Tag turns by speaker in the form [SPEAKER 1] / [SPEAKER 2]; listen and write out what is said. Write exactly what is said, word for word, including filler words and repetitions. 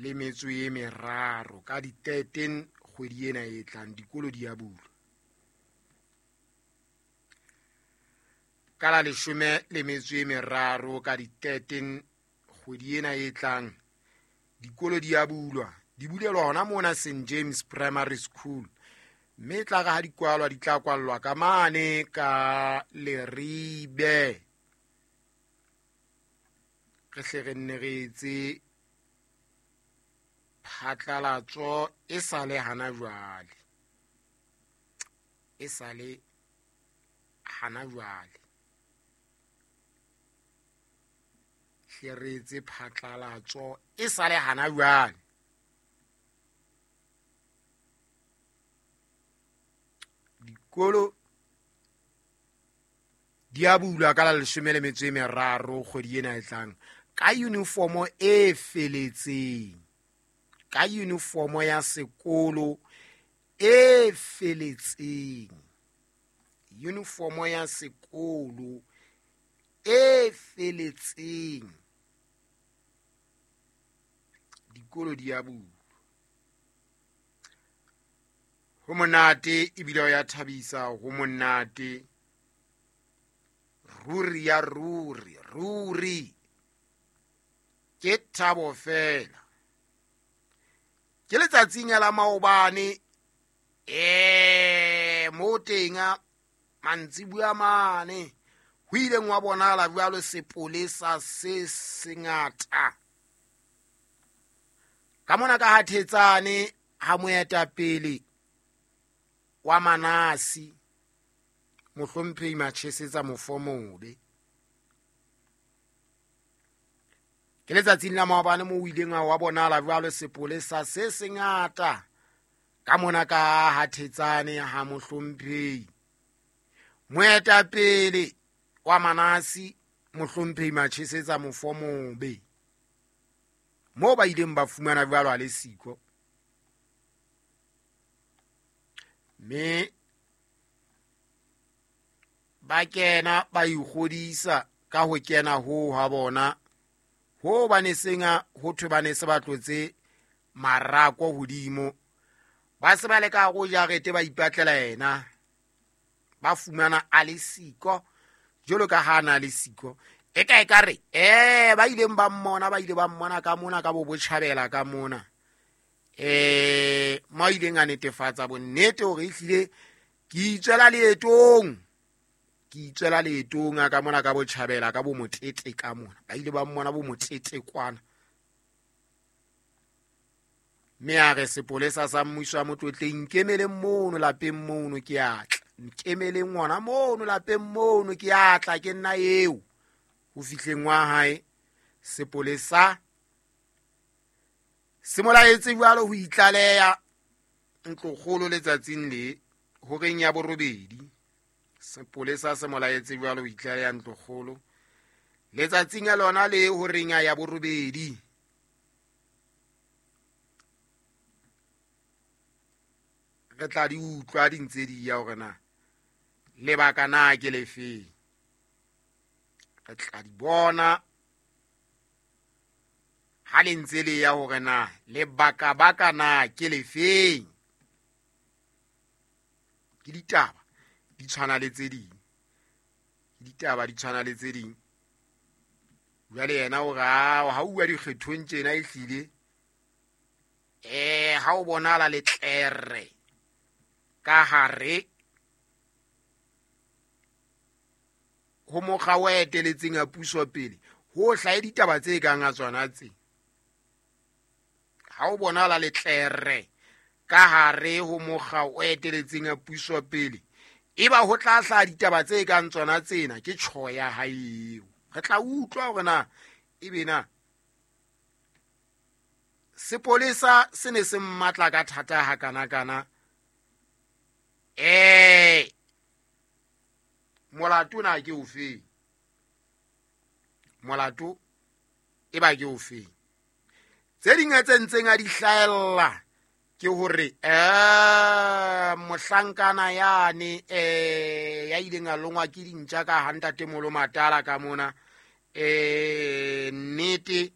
[SPEAKER 1] le metso e meraro ka di thirteen kgwedi ena e tlang dikolo di a bulwa. Ka la leshome le metso e meraro ka di thirteen kgwedi ena e tlang dikolo di a bulwa, di bulelwa hona mona Saint James Primary School, mme e tla re ha di kwalwa di tla kwallwa ka mane ka Leribe. Re hle re nne re etse phatlalatso e sa le hana jwale, e sa le hana jwale hle re etse phatlalatso e sa le hana jwale. Dikolo di a bulwa ka la leshome le metso e meraro kgwedi ena e tlang ka uniformo e feletseng, ka uniformo ya sekolo e feletseng, uniformo ya sekolo e feletseng. Dikolo di a bulwa. Ho monate ebile ho ya thabisa, ho monate ruri ya ruri ruri, ke thabo fela. Ke letsatsing la maobane eh mo teng mantsibuya mane ho ileng wa bonahala jwalo sepolesa se sengata ka mona ka ha Thetsane ha moetapele wa Manasi mohlomphehi Machesetsa Mofomobe. Ke letsatsing la maobane mo ileng wa bonahala jwalo sepolesa se sengata ka mona ka ha Thetsane ha mohlomphehi moetapele wa Manasi mohlomphehi Machesetsa Mofomobe, mo ba ileng ba fumana jwalo a le siko, mme ba kena ba ikgodisa ka ho kena ho ha bona ho ba ne senga ho thwe ba ne se ba tlotse marako hodimo, ba se ba le ka go jarete ba ipatlela yena, ba fumana a le siko jwalo ka ha na le siko. E ka e ka re eh ba ileng ba mmona ba ile ba mmona ka mona ka bo botjhabela ka mona eh mo ileng a netefatsa bonnete hore ehlile ke itswela leetong, ke itswela leetong a ka mona ka botjhabela ka bo motete ka mona, ba ile ba mmona bo motete kwana. Mme a re sepolesa sa mmuso wa Motlotleng nkemeleng mono lapeng mono ke a tla, nkemeleng ngwana mono lapeng mono ke a tla, ke nna eo. Ho fihleng wa hae sepolesa se molaetse jwalo ho itlaleha ntlokgolo letsatsing le horeng ya borobedi. Sepolesa se molaetse jwalo ho itlaleha ntlokgolo letsatsing ya lona le horeng ya borobedi. Re tla di utlwa di ntse di ya hore na lebaka na ke lefe, re tla di bona ha le ntse le ya hore na lebaka baka na ke lefeng. Ke ditaba di tshwana le tse ding, ke ditaba di tshwana le tse ding. Jwale yena o re ha uwa dikgethong tjena ehlile eh ha o bonala letlere ka hare ho mokga o eteletseng a puso pele ho hlahe ditaba tse kang a tsona tse. Ha o bonala letlere ka hare ho mokga o eteletseng a puso pele eba ho tla hlaha ditaba tse kang tsona tsena, ke tjho ya hae eo. Re tla utlwa hore na ebe na sepolesa se ne se mmatla ka thata hakana-kana eh molato na ke ofe, molato e ba ke ofe. Tse ding tse ntseng a di hlahella ke hore eh mohlankana yane eh ya ileng a longwa ke dintja ka ha ntate Molo Matala ka mona eh nnete